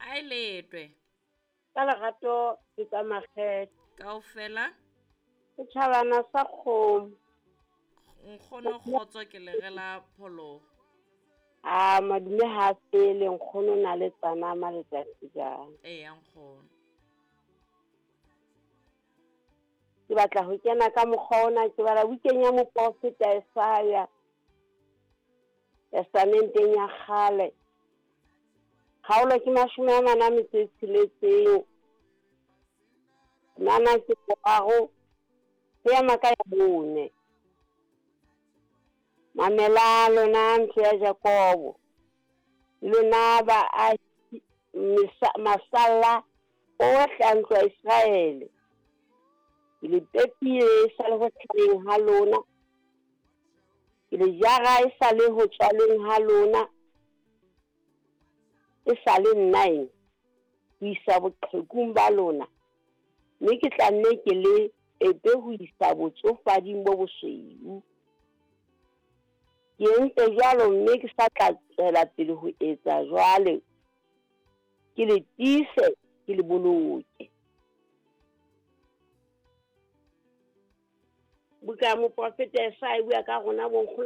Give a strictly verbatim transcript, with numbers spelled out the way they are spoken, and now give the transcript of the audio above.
A e letwe. Ka lerato le ka makgethe. Kaofela. Setjhabana sa kgomo. Nkgono kgotso ke le rela pholoho. A madume ha fele nkgono na le tsana maletsatsi jang. Eya nkgono. Ke batla ho kena ka mokgwa ona, ke bala bukeng ya moprofeta Isaiah, testamenteng ya kgale. Kgaolo ke mashome a mane a metso e tsheletseng. Nana ke boraro, ho ema ka ya bone. Mamela lona ntlo ya Jakobo, lona baahi masalla ohle a ntlo ya Iseraele. Ke le pepile e sa le ho hlaheng ha lona, ke le jara e sa le ho tswalweng ha lona, e sa le nna eng ho isa boqhekung ba lona, mme ke tla nne ke le epe ho isa botsofading bo bosweu. Ke entse jwalo mme ke sa tla tswela pele ho etsa jwale, ke le tiise, ke le boloke. Buka ya moprofeta Isaiah e bua ka rona bonkgono.